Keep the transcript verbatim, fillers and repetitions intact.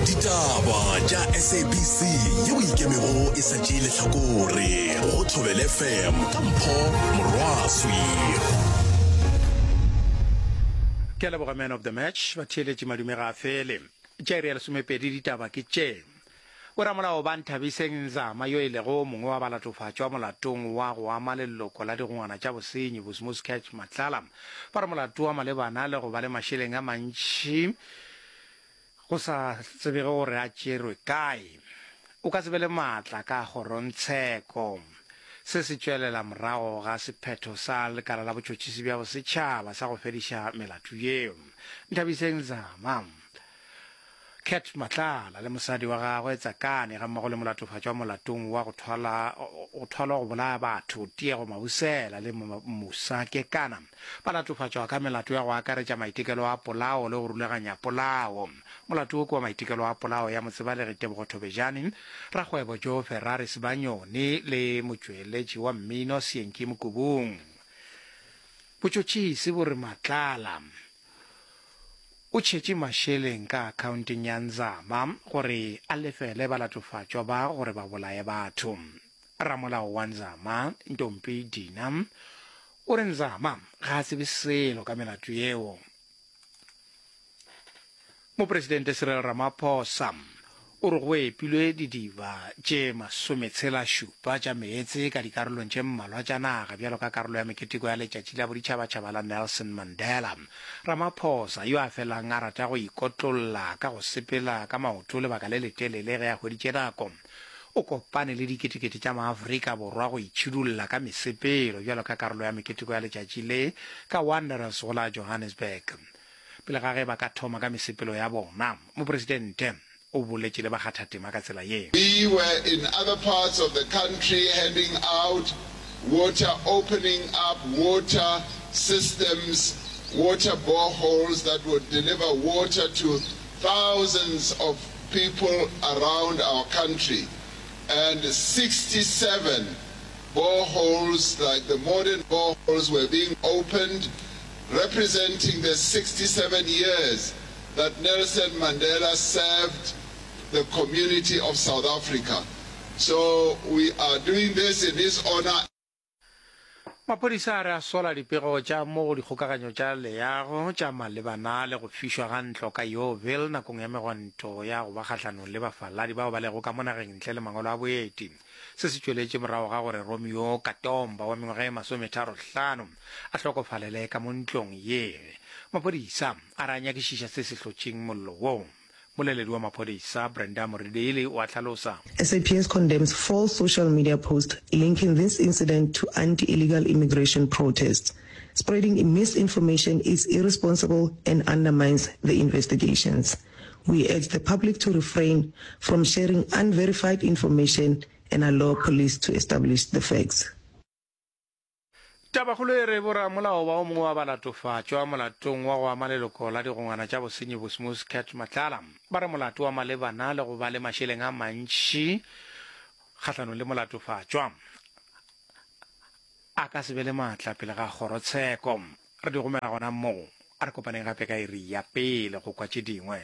Ditaba tša S A B C yeo ikemego e sa tšee lehlakore go Thobela F M ka Mpho Morwaswi. Ke a leboga, man of the match. Batheeletši, madume ga a fele. Tša iri ya lesomepedi ditaba ke tše. Boramolao ba Nthabiseng Nzama, yo e lego o mongwe wa balatofatšwa molatong wa go ama leloko la digongwana tša bosenyi Bosmos Catch Matlala, ba re molato wa malebana le go ba le mašeleng a mantši go sa tsebege gore a tšerwe kae o ka se be le maatla ka kgorongtsheko. Se se tšwelela morago ga sephetho sa lekala la botšhotšhisi bja bosetšhaba sa go fediša melato yeo. Nthabiseng Nzama, Cat Matlala le mosadi wa gagwe Tsakane, gammogo le molatofatšwa molatong wa go thwala go thwalwa go bolaya batho Tiego Mabusela le Musa Kekana, ba latofatšwa ka melato ya go akaretša maitekelo a polao le go rulaganya polao. Molato wo ke wa maitekelo a polao ya motsebalegi Tebogo Thobejane, rakgwebo Joe Ferrari Sibanyoni le motšweletši wa mmino Seenki Mokubung. Botšhotšhisi bo re Matlala o tšhetše mašeleng ka akhaonteng ya Nzama gore a lefele balatofatšwa ba gore ba bolaye batho. Ramolao wa Nzama, Ntompi Dina, o re Nzama ga a tsebe selo ka melato yeo. Mopresidente Cyril Ramaphosa o re go epilwe didiba tše masometshela šupa tša meetse ka dikarolong tše mmalwa tša naga bjalo ka karolo ya meketeko ya letšatši la boditšhabatšhaba la Nelson Mandela. Ramaphosa, yo a felang a rata go ikotlolla ka go sepela ka maoto lebaka le letelele ge a hweditše nako, o kopane le diketekete tša maAfrika Borwa go itšhidulla ka mesepelo bjalo ka karolo ya meketeko ya letšatši le ka Wanderers go la Johannesburg. Pele ga ge ba ka thoma ka mesepelo ya bona, mopresidente o boletše le bakgathatema ka tsela ye. We were in other parts of the country handing out water, opening up water systems, water boreholes that would deliver water to thousands of people around our country. And sixty-seven boreholes, like the modern boreholes, were being opened, representing the sixty-seven years that Nelson Mandela served the community of South Africa. So we are doing this in his honor. Maphodisa a re a sola dipego tša mo go dikgokaganyo tša leago tša malebana le go fišwa ga ntlo ka Yeoville nakong ya megwanto ya go ba kgahlanong le bafaladi bao ba lego ka mo nageng ntle le mangwalo a boeti. Se se tšweletše morago ga gore Romeo Katomba wa mengwaga e masometharo-hlano a hlokofalele ka mo ntlong ye. Maphodisa a re a nyakišiša se se hlotšeng mollo wo. Moleledi wa maphodisa Brenda Muridili o a hlalosa. S A P S condemns false social media posts linking this incident to anti-illegal immigration protests. Spreading misinformation is irresponsible and undermines the investigations. We urge the public to refrain from sharing unverified information and allow police to establish the facts. Tabakgolo e re boramolao ba o mongwe wa balatofatšwa molatong wa go ama leloko la digongwana tša bosenyi Bosmos Cat Matlala ba re molato wa malebana le go ba le mašeleng a mantši kgahlanong le molatofatšwa a ka se be le maatla pele ga kgorotsheko. Re di gomela gona moo. A re kopaneng gape ka iri ya pele go kwa tše dingwe.